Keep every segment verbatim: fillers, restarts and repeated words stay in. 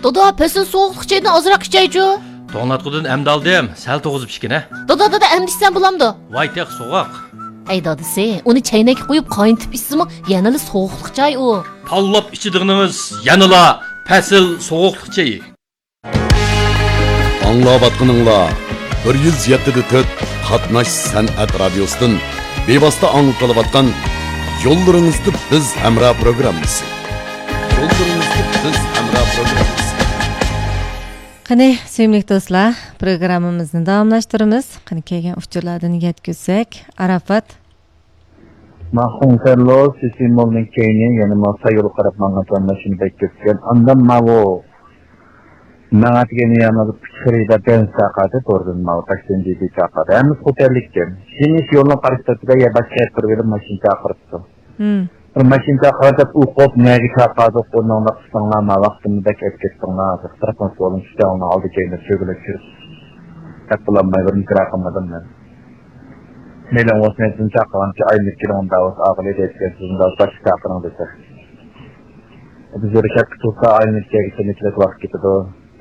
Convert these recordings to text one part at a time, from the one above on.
دادا، پەسىل سوغۇقلۇق چايدىن ئازراق ئىچەيچۇ. توڭلاتقۇدىن ئەمدى ئالدىم، سەل توغۇزۇپ ئىچكىنە. دادا، دادا، ئەمدى ئىچسەم بولامدۇ؟ ۋاي، تېخى سوغۇق. ئەي دادىسى، ئۇنى چەينەككە قۇيۇپ قاينىتىپ ئىچسىمۇ يەنىلا سوغۇقلۇق چاي ئۇ. تاللاپ ئىچىدىغىنىڭىز يەنىلا پەسىل سوغۇقلۇق چېيى. ئاڭلاۋاتقىنىڭلار بىر يۈز يەتتە دە تۆت قاتناش سەنئەت رادىيوسىدىن بىۋاسىتە ئاڭلىتىلىۋاتقان يوللىرىڭىزدا بىز ھەمراھ پروگراممىسى. يوللىرىڭىزدا بىز ھەمراھ پروگراممىسى. قېنى، سۆيۈملۈك دوستلار، پروگراممىمىزنى داۋاملاشتۇرىمىز. قېنى، كەلگەن ئۇچۇرلاردىن يەتكۈزسەك، ئاراپات. ماخسۇم تەللو، سېسىمولنىڭ كەينى، يەنە ماۋۇ سايغۇلغا قاراپ ماڭغان ماشىنا بەك كۆپكەن. ئاندىن ماۋۇ ماڭا دېگەن يەنە بىر خېرىدار بەنز چاقىردى، توردىن ماۋۇ تاشكەنت دېدى چاقىردى. ھەممىسى خوتەنلىككەن. شېنىش يولنىڭ قارشى تەرىپىدە يا باشقا يەر تۇرۇۋېلىپ ماشىنا چاقىرىپتۇ. ھىم. بىر ماشىنا چاقىرىپ ئوقۇپ، نەگە چاقىردۇق، ئورنۇڭدا قىلساڭلار، ما ۋاقتىمنى بەك ئەپ كەتتىڭلار. ھازىر تېلېفون سوئالىم چۈشتى، ئاڭا ئالدى كەينىدە چۆگىلەپ يۈرۈپ. گەپ قىلالماي بىر ئىنكار قىلمىدىم مەن. مەيلى، ئۇنىڭ ئۈستىنى سىزنى چاقىرغانچە ئايلىنىپ كېلىڭ، ئۇنداق بولسا ئاغىلى دەيدىكەن، سىزنى باشقا چاقىرىڭ دېسە. بىز يەنە شەرتكە تۇرسا ئايلىنىپ كەلگۈچە نېچىلىك ۋاقىت كېتىدۇ.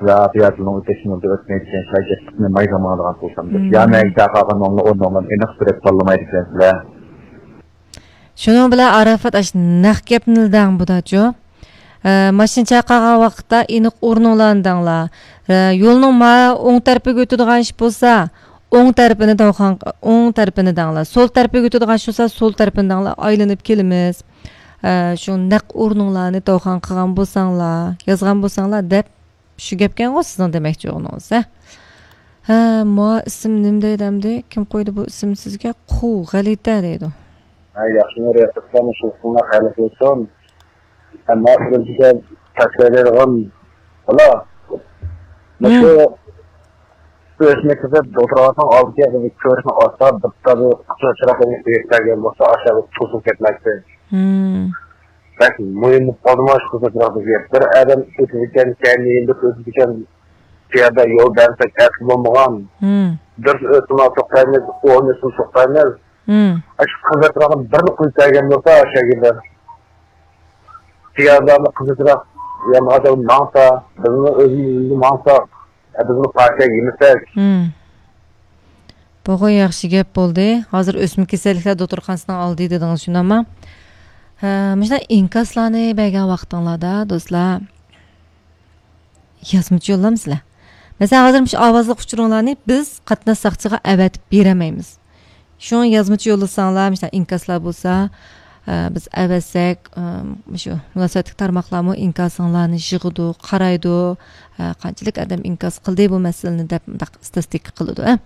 ۋە پىيادىنىڭ ئۆتەش يولىدا ئۆتمەيدىكەن، شاي گەپنى مايغا ماڭىدىغان قىلسام دەپ. يا مەن چاقىرغان ئورنۇڭلارنى ئېنىق سۈرەت تاللىمايدىكەنسىلەر. شۇنىڭ بىلەن ئاراپات ئاشۇ نەق گەپنىلا دەڭ بۇداچۇ. ئە، ماشىنا چاقىرغان ۋاقىتتا ئېنىق ئورنۇڭلارنى دەڭلار. ئە، يولنىڭ ما ئوڭ تەرىپىگە ئۆتىدىغان ئىش بولسا، ئوڭ تەرىپىنى داۋخان، ئوڭ تەرىپىنى دەڭلار. سول تەرىپىگە ئۆتىدىغان ئىش بولسا، سول تەرىپىنى دەڭلار. ئايلىنىپ كېلىمىز. ئە، شۇ نەق ئورنۇڭلارنى داۋخان قىلغان بولساڭلار، يازغان بولساڭلار دەپ شۇ گەپكەنغۇ سىزنىڭ دېمەكچى بولغىنىڭىز، ھە؟ ھە، ما ئىسىم نېمە دەيدۇ ئەمدى؟ كىم قويدى بۇ ئىسىمنى سىزگە؟ قۇ، غەلىتە دەيدۇ. ھە، ياخشىمۇ، رەھمەتلەرنى شۇ قىلغان خەيرلىك بولسۇن. ئەمما بىرىنچىدىن تەكرارلايدىغان بالا، مۇشۇ ئۆسمە كېسەل دوختۇرخانىنىڭ ئالدىدىكى كۆرۈشنىڭ ئاستىدا بىر تال قىزىل چىراغ يېتىپ كەلگەن بولسا، ئاشۇ توسۇپ كەتمەكتە. ھىم. بەك مۇھىم بولۇپ قالدىمۇ شۇ قىزىل چىراغ بىزگە؟ بىر ئادەم ئۆتىدىكەن، كەينىدىن ئۆتىدىكەن، پىيادە يول بەرسەك ئەسلى بولمىغان. ھىم. دۇرۇس ئۆتسىمۇ توختايمىز، ئورنىسىمۇ توختايمىز. ھىم. ئاشۇ قىزىل چىراغنى بىرلا قويۇپ بەرگەن بولسا، ئاشۇ يەردە پىيادىلەرمۇ قىزىل چىراغ يانغاندا ماڭسا، بىزمۇ ئۆزىمىز ماڭساق، بىزمۇ پارچە يېمىسەك. ھىم. بۇغۇ ياخشى گەپ بولدى. ھازىر ئۆسمە كېسەللىكلەر دوختۇرخانىسىنىڭ ئالدى دېدىڭىز، شۇنداقمۇ؟ ھە، مۇشۇنداق ئىنكاسلارنى بەرگەن ۋاقتىڭلاردا، دوستلار، يازمىچە يوللامسىلەر. مەسىلەن، ھازىر مۇشۇ ئاۋازلىق ئۇچۇرۇڭلارنى بىز قاتناش ساقچىغا ئەۋەتىپ بېرەلمەيمىز. شۇڭا يازمىچە يوللىساڭلار، مۇشۇنداق ئىنكاسلار بولسا، ئە، بىز ئەۋەتسەك، ئە، مۇشۇ مۇناسىۋەتلىك تارماقلارمۇ ئىنكاسىڭلارنى يىغىدۇ، قارايدۇ، ئە، قانچىلىك ئادەم ئىنكاس قىلدى بۇ مەسىلىنى دەپ مۇنداق ستاتىستىكا قىلىدۇ، ئە.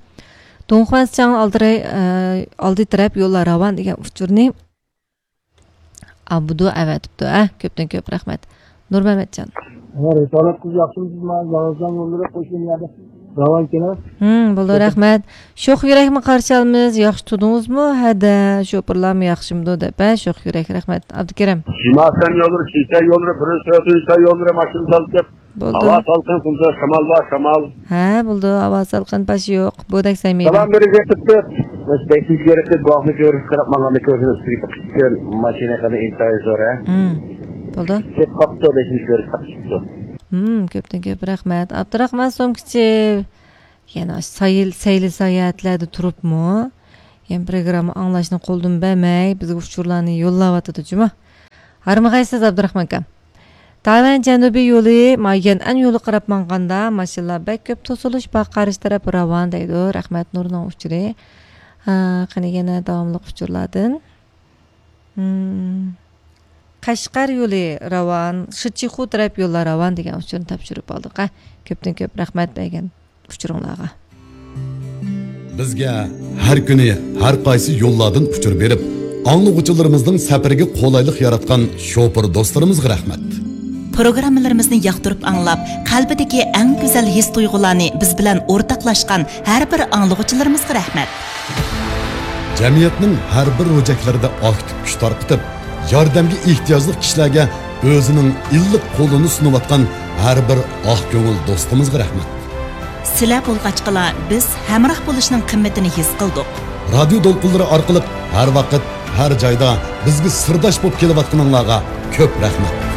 دۇڭخۇەن سىچاڭ ئالدى رەي-، ئە، ئالدى تەرەپ يوللار راۋان دېگەن ئۇچۇرنى ئابدۇ ئەۋەتىپتۇ، ئە. كۆپتىن كۆپ رەھمەت. نۇرمەمەتجان. ھە، رىسالەت قىز ياخشىمۇسىز؟ مانا ياڭزىجان يوللىرى قوشۇلما يەردە راۋان كېلىڭ. ھىم، بولدى، رەھمەت. شوخ يۈرەكمۇ قارشى ئالىمىز، ياخشى تۇردىڭىزمۇ؟ ھەدە، شوپۇرلارمۇ ياخشىمىدۇ دەپ، ھە، شوخ يۈرەك، رەھمەت. ئابدۇكېرىم. شىماسەن يوللىرى، چىشە يوللىرى، بىر سۆتۈنچە يوللىرى ماشىنا سالىپ، بولدى. ھاۋا سالقىن، كۈندۈز شامال بار، شامال. ھە، بولدى، ھاۋا سالقىن، پاش يوق. بۇدەك سەمىمىي. سالام بېرىپ كەتتى. بەشىنچى يۈرەكتە گۇۋاھنى كۆرۈپ، قاراپ ماڭغاندا كۆرسىڭىز، سۈيىگە قىپتىكەن، ماشىنا قېنى ئىنتايىن زور، ھە؟ ھىم، بولدى. كەپ قاپتۇ، بەشىنچى يۈرەك قاپتۇ. ھىم، كۆپتىن كۆپ رەھمەت. ئابدۇراخمان سومكىچى. يەنە سايل-، سەيلە ساياھەتلەردە تۇرۇپمۇ، يەنە پروگرامما ئاڭلاشنى قولدىن بەرمەي، بىزگە ئۇچۇرلارنى يوللاۋاتىدۇ جۇمۇ. ھارمىغايسىز، ئابدۇراخمان ئاكا. تايۋەن جەنۇبىي يولى، ما، يەنئەن يولىغا قاراپ ماڭغاندا، ماشىنىلار بەك كۆپ توسۇلۇش بار، قارشى تەرەپ راۋان دەيدۇ. رەھمەت، نۇرنىڭ ئۇچۇرى. ھە، قېنى يەنە داۋاملىق ئۇچۇرلاردىن. ھىم. قەشقەر يولى راۋان، شىچىخۇ تەرەپ يوللار راۋان دېگەن ئۇچۇرنى تاپشۇرۇپ ئالدۇق، ھە. كۆپتىن كۆپ رەھمەت بەرگەن ئۇچۇرۇڭلارغا. بىزگە ھەر كۈنى ھەر قايسى يوللاردىن ئۇچۇر بېرىپ، ئاڭلىغۇچىلىرىمىزنىڭ سەپىرىگە قولايلىق ياراتقان شوپۇر دوستلىرىمىزغا رەھمەت. پروگراممىلىرىمىزنى ياقتۇرۇپ ئاڭلاپ، قەلبىدىكى ئەڭ گۈزەل ھېس-تۇيغۇلارنى بىز بىلەن ئورتاقلاشقان ھەر بىر ئاڭلىغۇچىلىرىمىزغا رەھمەت. جەمئىيەتنىڭ ھەر بىر روجەكلىرىدە ئاكتىپ كۈچ تارقىتىپ، ياردەمگە ئېھتىياجلىق كىشىلەرگە ئۆزىنىڭ ئىللىق قولىنى سۇنۇۋاتقان ھەر بىر ئاق كۆڭۈل دوستىمىزغا رەھمەت. سىلەر بولغاچقىلا، بىز ھەمراھ بولۇشنىڭ قىممىتىنى ھېس قىلدۇق. رادىيو دولقۇنلىرى ئارقىلىق ھەر ۋاقىت، ھەر جايدا بىزگە سىرداش بولۇپ كېلىۋاتقىنىڭلارغا كۆپ رەھمەت.